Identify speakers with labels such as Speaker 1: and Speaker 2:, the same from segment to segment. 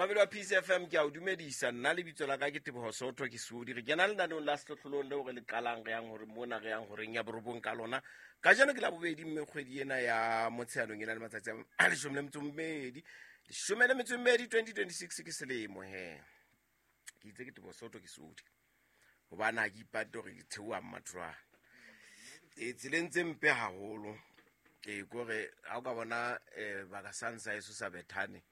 Speaker 1: Momamedi wa Peace FM, ke a o dumedisa. Nna lebitso la ka ke Teboho Soto, ke Sodi. Re kena lenaneong la sehlohlolong leo re le qalang, re yang hore mona re yang horeng ya borobong ka lona. Kajeno ke la bobedi, mme kgwedi ena ya Motsheanong e na le matsatsi a 12. 12, 2026 ke selemo he. Ke itse ke Teboho Soto, ke Sodi. Hobane ha ke ipate hore ke theoha mmathulwane. E tseleng tse mpe haholo. Ee, kore ha o ka bona baka sang sa eso sa Bethane,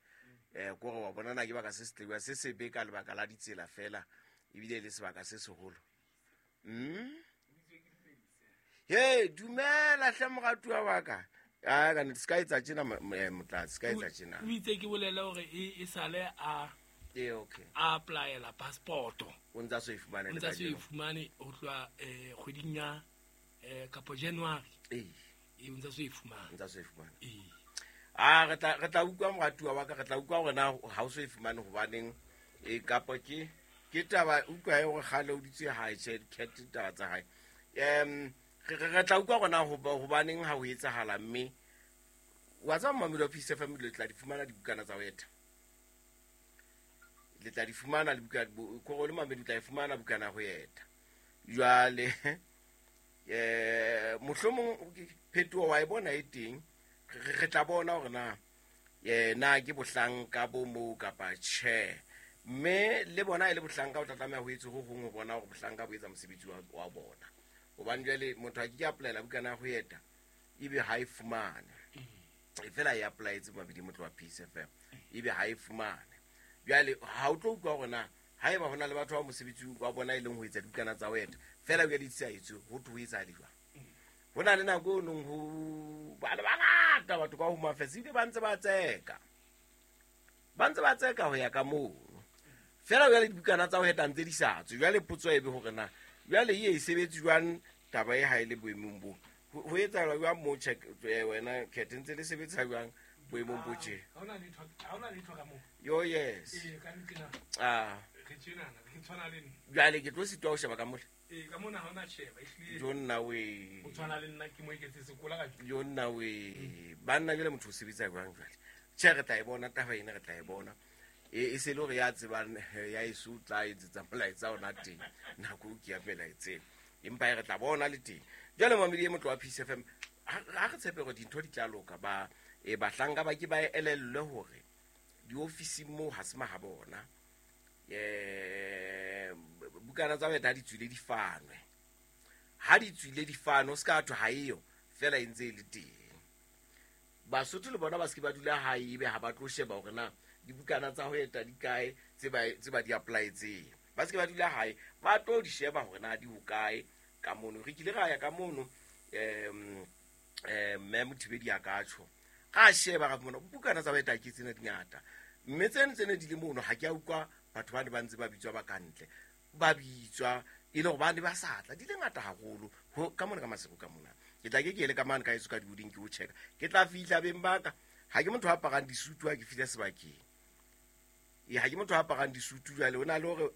Speaker 1: kore wa bona na ke baka se setlewa se sebe ka lebaka la ditsela fela, ebile e le sebaka se seholo. He, dumela hle moratuwa wa ka. A ka se ka etsa tjena, motlatsi, se ka etsa tjena.
Speaker 2: O itse ke bolele hore e sale a
Speaker 1: Ee, okay.
Speaker 2: A applyela passport.
Speaker 1: O ntsa so e fumane
Speaker 2: O ntsa so e fumane ho tloha kgweding ya kapo January.
Speaker 1: Ee.
Speaker 2: E o ntsa so e fumane.
Speaker 1: Ntsa so e fumane.
Speaker 2: Ee.
Speaker 1: A re tla utlwa moratuwa wa ka, re tla utlwa hore na ha o so e fumane hobaneng, e kapo ke taba utlwa e hore kgale o dutse hae, tjhe, cat taba tsa hae. Re tla utlwa hore na hobaneng ha ho etsahala, mme wa tseba momamedi wa Peace FM, le tla di fumana dibukana tsa ho eta. Le tla di fumana le buka, kore le mamedi o tla e fumana bukana ya ho eta. Jwale mohlomong phetoho wa e bona e teng, re tla bona hore na na ke bohlanka bo moo kapa tjhe. Mme le bona e le bohlanka, o tla tlameha ho etse ho hong ho bona hore bohlanka bo etsa mosebetsi wa bona. Hobane jwale motho a ke ke applyela bukana ya ho eta ebe ha e fumane. E fela e applyetse mabedi motho wa Peace FM, ebe ha e fumane. Jwale ha o tlo utlwa hore na haeba hona le batho ba mosebetsi wa bona e leng ho etsa dibukana tsa ho eta fela jwale di sa etswe, ho thwe ho etsahala jwang. Ho na le nako e nong ho ba le bangata batho ka Home Affairs, ebile ba ntse ba tseka, ba ntse ba tseka ho ya ka mono fela. Jwale dibukana tsa ho eta ntse di sa tswe. Jwale potso e be hore na jwale e sebetse jwang taba e ha e le boemong bo, ho etsahala jwang mo check wena Cat, ntse le sebetsa jwang boemong bo tje?
Speaker 2: Ha hona letho, ha hona letho ka moo.
Speaker 1: Yo, yes.
Speaker 2: Ee, ka nnete na.
Speaker 1: Ah.
Speaker 2: Re tjenana, re tshwana le nna.
Speaker 1: Jwale ke tlo sitwa ho sheba ka mole.
Speaker 2: Ee, ka mona ha hona sheba, ehlile.
Speaker 1: Jo nna we.
Speaker 2: O tshwana le nna, ke mo eketse sekola ka.
Speaker 1: Jo nna we. Banna jwale motho o sebetsa jwang jwale? Tjhe, re tla e bona taba ena, re tla e bona. E se le hore ya tsebang ya eso tla etsetsa molaetsa ona teng nako o ke ya melaetseng, empa e re tla bona le teng. Jwale mamedi e motlo wa Peace FM, ha re tshepe hore dintho di tla loka, ba bahlanka ba ke ba elellwe hore diofising moo ha se maha bona. Bukana tsa weta ha di tswile di fanwe, ha di tswile di fanwe, o se ka thwe ha eyo fela e ntse e le teng. Basotho le bona ba se ke ba dula hae ebe ha ba tlo sheba hore na dibukana tsa ho eta di kae tse ba di applyetseng. Ba se ke ba dula hae, ba tlo di sheba hore na di hokae ka mono. Re kile ra ya ka mono, mme Mothibedi a ka tjho, ra sheba ra fumana bukana tsa ho eta ke tsena di ngata, mme tseno tse ne di le mono ha ke a utlwa batho ba ne ba ntse ba bitswa ba kantle, ba bitswa e le hore ba ne ba sa tla, di le ngata haholo ho ka mona ka Maseru ka mona. Ke tla ke ele ka mane ka eso ka dihoding ke o checka, ke tla fihla beng ba ka. Ha ke motho a aparang disutu ha ke fihla sebakeng. E ha ke motho a aparang disutu. Jwale ho na le hore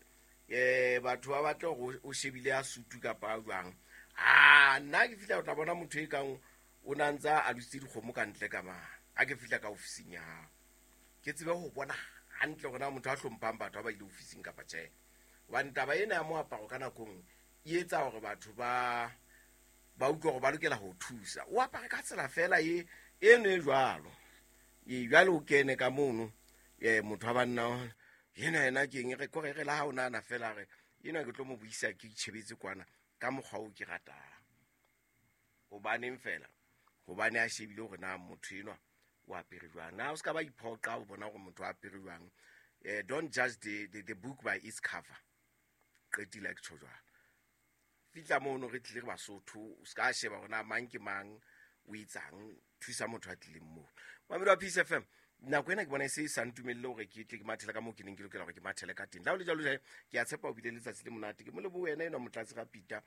Speaker 1: batho ba batle hore o shebile a sutu kapa a jwang. A nna ke fihla o tla bona motho e kang o na ntsa a lositse dikgomo ka ntle ka mane. Ha ke fihla ka ofising ya hao, ke tsebe ho bona hantle hore na motho a hlomphang batho ba ba ile ofising kapa tjhe. Hobane taba ena ya moaparo ka nako nngwe e etsa hore batho ba utlwe hore ba lokela ho thusa. O apare ka tsela fela e eno e jwalo. E jwale o kene ka mono, motho wa banna yena yena ke eng, re kore re la ha o nahana fela re ena ke tlo mo buisa ke itjhebetse kwana ka mokgwa o ke ratang. Hobaneng fela? Hobane a shebile hore na motho enwa o apere jwang. Na o se ka ba iphoqa o bona hore motho o apere jwang. Don't judge the book by its cover. Qetile ke tjho jwalo. Fihla mono re tlile re Basotho, o se ka sheba hore na mang ke mang, o etsang, thusa motho a tlileng moo. Mamedi wa Peace FM, nako ena ke bona e se e sa ntumelle hore ke tle ke mathele ka moo ke neng ke lokela hore ke mathele ka teng. Le ha ho le jwalo, jwale ke a tshepa o bile letsatsi le monate. Ke mo lebohe wena enwa Motlatsi ga Peter,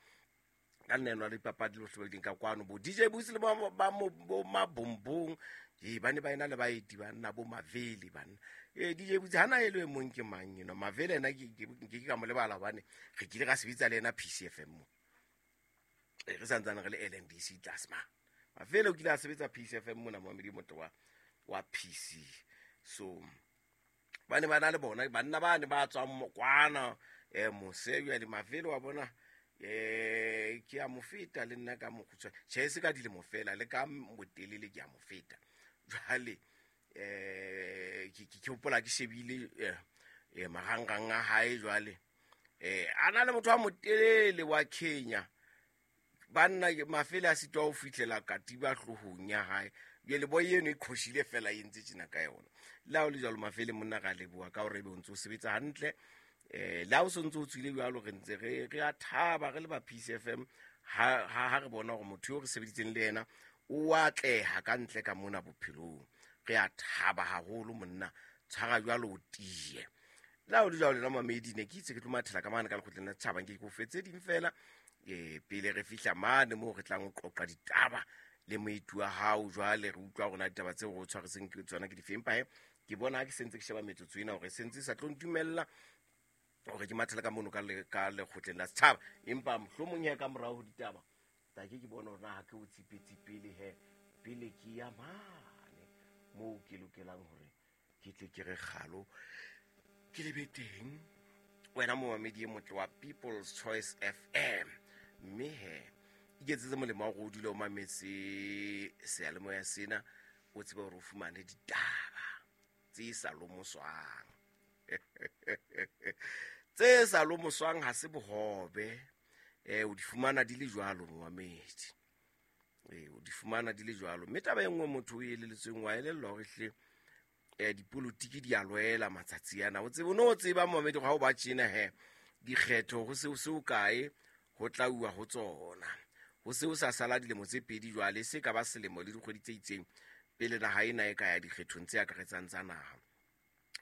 Speaker 1: ka nna enwa le dipapadi le bohle ba ka kwano, bo DJ Busi le bo Mabombong. Ee, ba ne ba ena le baeti banna, bo Mavele banna. Ee, DJ Busi hana e le e mong ke mang enwa Mavele ena, ke ka mo lebala hobane re kile ra sebetsa le ena Peace FM mo. Ee, re santsane re le LNDC tlase ma. Mavele o kile a sebetsa Peace FM mona, momamedi motho wa PC. So Ba ne ba na le bona banna ba ne ba tswang kwana mose jwale Mafele wa bona ke a mo feta le nna ka mokgutshwane. Tjhe, se ka dilemo fela le ka botelele ke a mo feta. Jwale ke hopola ke shebile marangrang a hae jwale. A na le motho wa motelele wa Kenya. Banna Mafele a sitwa ho fihlela katiba hloohong ya hae. Jwale boy eno e qhoshile fela e ntse tjena ka yona. Le ha o le jwalo Mafele monna ra leboha ka hore ebe o ntse o sebetsa hantle. Le ha o so ntse o tswile jwalo re ntse re a thaba re le ba Peace FM ha re bona hore motho eo re sebeditseng le yena o atleha ka ntle ka mona bophelong. Re a thaba haholo monna, tshwara jwalo o tiye. Le ha o le jwalo lena mamedi ne ke itse ke tlo mathela ka mane ka lekgotleng la setjhaba nke ke o fetse ding fela. Pele re fihla mane moo re tlang ho qoqa ditaba le moeti wa hao jwale re utlwa hore na ditaba tseo re o tshwaretseng ke tsona ke dife. Empa he ke bona ha ke sentse ke sheba metsotso ena hore sentse e sa tlo ntumella hore ke mathele ka mono ka lekgotleng la setjhaba. Empa mohlomong he ka morao ho ditaba ta ke bona hore na ha ke o tsipetse pele he pele ke ya mane moo ke lokelang hore ke tle ke re kgalo ke lebe teng. Wena momamedi e motle wa People's Choice FM, mme he iketsetse molemo wa hore o dule o mametse seyalemoya sena, o tsebe hore o fumane ditaba tse sa lomoswang. Tse sa lomoswang ha se bohobe, o di fumana di le jwalo momamedi. O di fumana di le jwalo. Mme taba e nngwe motho o eleletsweng wa elellwa hore hle dipolotiki di a lwela matsatsi ana. O tsebe, o no tseba momamedi ha o ba tjena he dikgetho ho se o se o kae ho tla uwa ho tsona. Ho se o sa sala dilemo tse pedi jwale, se ka ba selemo le dikgwedi tse itseng pele naha ena e ka ya dikgethong tse akaretsang tsa naha.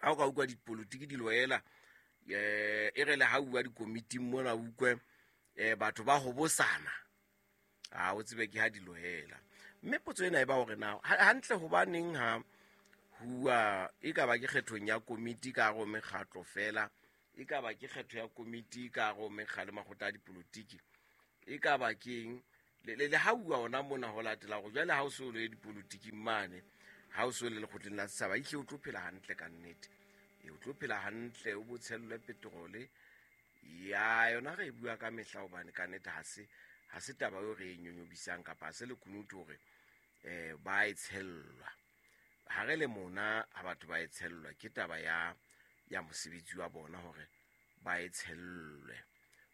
Speaker 1: Ha o ka utlwa dipolotiki di lwela, e re le ha uwa dikomiting mona utlwe batho ba hobosana, ha o tsebe ke ha di lwela. Mme potso ena e ba hore na hantle hobaneng ha huwa e ka ba ke kgethong ya komiti ka hare ho mekgatlo fela, e ka ba ke kgetho ya komiti ka hare ho mekga le makgotla a dipolotiki, e ka ba keng le ha uwa ona mona ho latela hore jwale ha o so le dipolotiking mane, ha o so le lekgotleng la setjhaba, ehlile o tlo phela hantle ka nnete. O tlo phela hantle, o bo tshellwe petrole. Ya yona re e bua ka mehla hobane ka nnete ha se taba eo re e nyonyobisang kapa ha se lekunutu hore ba e tshellwa. Ha re le mona ha batho ba e tshellwa ke taba ya mosebetsi wa bona hore ba e tshellwe.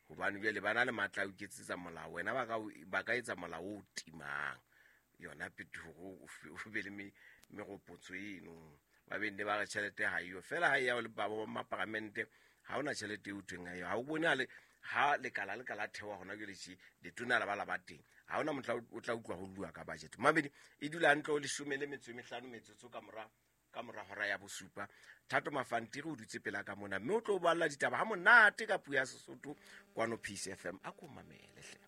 Speaker 1: Hobane jwale ba na le matla a ho iketsetsa molao, wena ba ka etsa molao o timang yona phetoho o be le meropotso eno. Ba be nne ba re tjhelete ha eyo fela, ha e ya le ba ba maparamente ha hona tjhelete eo thweng ha eyo. Ha o bone ha lekala le ka la theoha hona jwale tje, letona la ba la ba teng, ha hona mohla o tla utlwa ho bua ka budget. Mamedi e dula hantle o 15 metsotso ka mora hora ya bosupa. Thato Mafantiri o dutse pela ka mona mme o tlo balla ditaba ha monate ka puo ya Sesotho kwano Peace FM. A ko mamele hle.